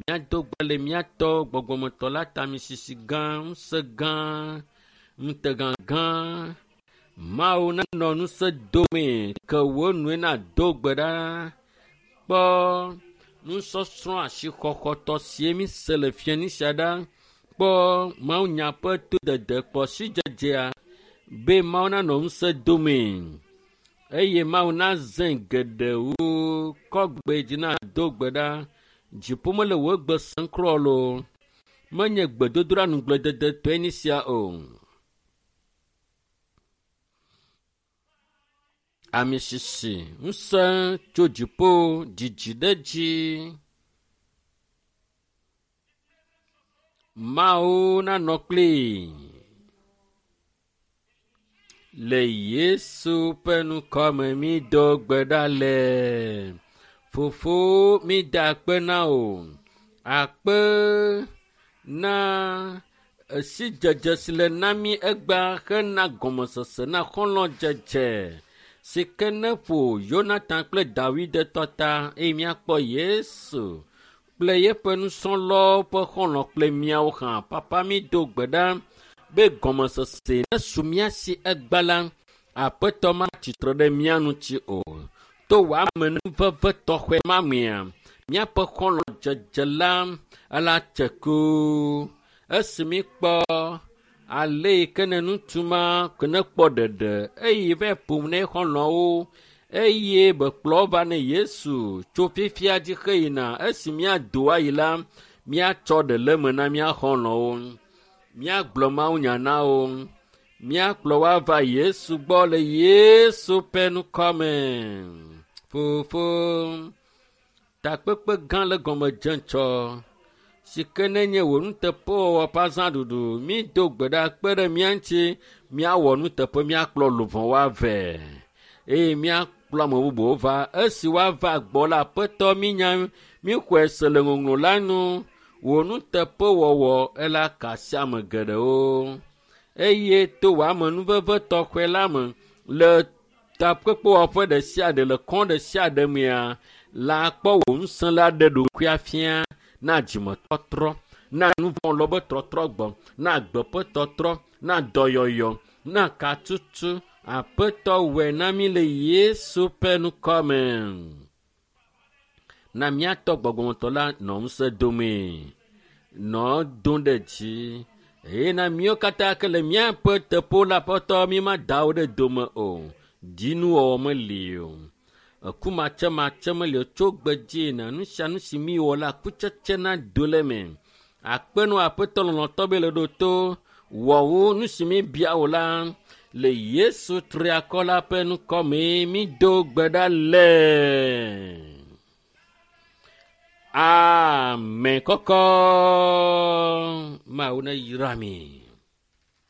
Míado gbe le míatɔ gbɔgbɔmetɔ la ta misisi gã, ŋusẽ gã, ŋutegã gã. Mawu nanɔ ŋusẽ domee ke wò nue nado gbe ɖa. Kpɔ nusɔsrɔ̃ asixɔxɔtɔ sie mi se le fiani sia ɖa. Kpɔ mawunya ƒe todede kpɔ sidzedzea be Mawu nanɔ ŋusẽ domee eye Mawu nazẽ geɖewo kɔ gbe dzi nado gbe ɖa. Dziƒo mele wò gbe sem kura loo. Menye gbedodoɖa nuglededetɔe nye sia o. Ame sisi ŋusẽ tso dziƒo dzidzi ɖe dzi. Mawu nanɔ kplii. Le Yesu ƒe ŋkɔme mi do gbe ɖa le. Fofo mi da akpe na wò. Akpe na esidzedze si le na mí egbea hena gɔmesese na xɔlɔ̃dzedze si ke ne ƒo Yonatan kple Dawid tɔ ta eye míakpɔ Yesu kple yeƒe nusrɔ̃lawo ƒe xɔlɔ̃ kple míawo hã. Papa mi do gbe ɖa be gɔmesese nesu mía si egba la, aƒetɔ matsitre ɖe mía ŋuti o. To wò amenuveve tɔxɛ ma mea, míaƒe xɔlɔ̃dzedze la ela tse ku. Esi míkpɔ ale yi ke ne ŋutsu ma ke ne kpɔ ɖeɖe eye va ƒom ne xɔlɔ̃wo eye bekplɔ va ne Yesu tso fifia dzi xeyina esi míado ayi la, míatsɔ ɖe le eme na mía xɔlɔ̃wo. Míagblɔ mawunya na wo. Míakplɔ wo ava Yesu gbɔ le Yesu ƒe ŋkɔme. Fofo, takpekpe gã le gɔme dze ŋtsɔ si ke nenye wò nuteƒewɔwɔ ƒe azãɖuɖu. Mído gbe ɖa kpe ɖe mía ŋuti míawɔ nuteƒe míakplɔ luʋɔwo avɛ eye míakplɔ ame bubuwo va. Esi woava gbɔ la, Aƒetɔ mínya míxɔe se le ŋɔŋlɔ la nu. Wò nuteƒewɔwɔ ela ka asi ame geɖewo eye to wò amenuveve tɔxɛ la me le takpekpewɔƒe ɖe sia ɖe le kɔn ɖe sia ɖe mea la kpɔ wò ŋusẽ la ɖe ɖokuia fia na dzimetɔtrɔ na nuvɔ̃ lɔ be trɔtrɔ gbɔ na agbe ƒe tɔtrɔ na dɔyɔyɔ na katutu aƒetɔ wɔe na mí le Yesu ƒe ŋkɔme. Na míatɔ gbɔgbɔmetɔ la nɔ ŋusẽ domee nɔ dom ɖe dzi eye na míawo katã ke le míaƒe teƒewo la aƒetɔ mí ma da wo ɖe dome o. Dzinuwɔwɔ meli o. Eku matsematse meli o. Tso gbe dzi na nu sia nu si míwɔ la kutsetse na do le eme. Akpe nɔ aƒetɔ lɔlɔ̃tɔ be le ɖo to wɔ wo nu si míbia wò la le Yesu triakɔ la ƒe ŋkɔme mído gbe ɖa le. Amen kɔkɔ. Mawu ne yra mi.